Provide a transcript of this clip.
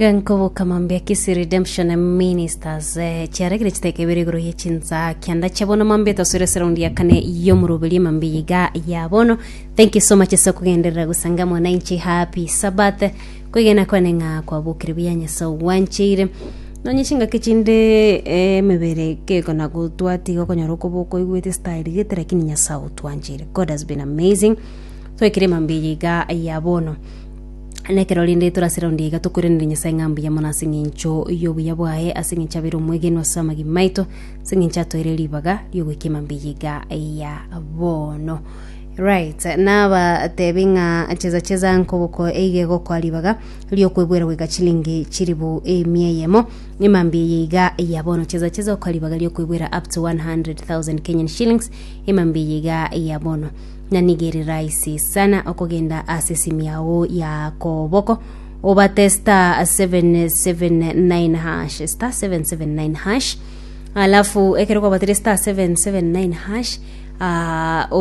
Genkoboka mambia Kisii Redemption Ministers eh, chiaregire chiteka ibere igoro ye chinsa kianda chia bono mambia tosore ase raundi ya kane y'omoroberi mambia iga ya bono. Thank you so much ase okogenderera gosanga mwananchi. Happy Sabbath. Kwegena kwane ng'a kwabokire buya Nyasae ogwancheire. Nonye chingaki chinde eh, emebere kekona gotwatiga okonyora okoba okoigwete style gete lakini Nyasae otwancheire. God has been amazing. Twaikire mambia eye iga ya bono. Na ekero rende tore ase raundi iga tokoiraneria Nyasae ng'a mbuya mono ase eng'encho y'obuya bwaye, ase eng'encho abeire omwegenwa ase amagima aito, ase eng'encho atoeire ribaga riogoika emambia eye iga ya bono. Right, nabatebi ng'a cheza cheza nkoboko eiga egokoa ribaga riokwebwera goika chilingi chiribu emia eyemo emambia eye iga ya bono. Cheza cheza okoa ribaga riokwebwera up to 100,000 Kenyan shillings emambia eye iga ya bono. Na nigo ere rahisi sana okogenda ase esimi yao ya koboko obate star 779 hash star 779 hash alafu ekero kwabatire star 779 hash ah, o.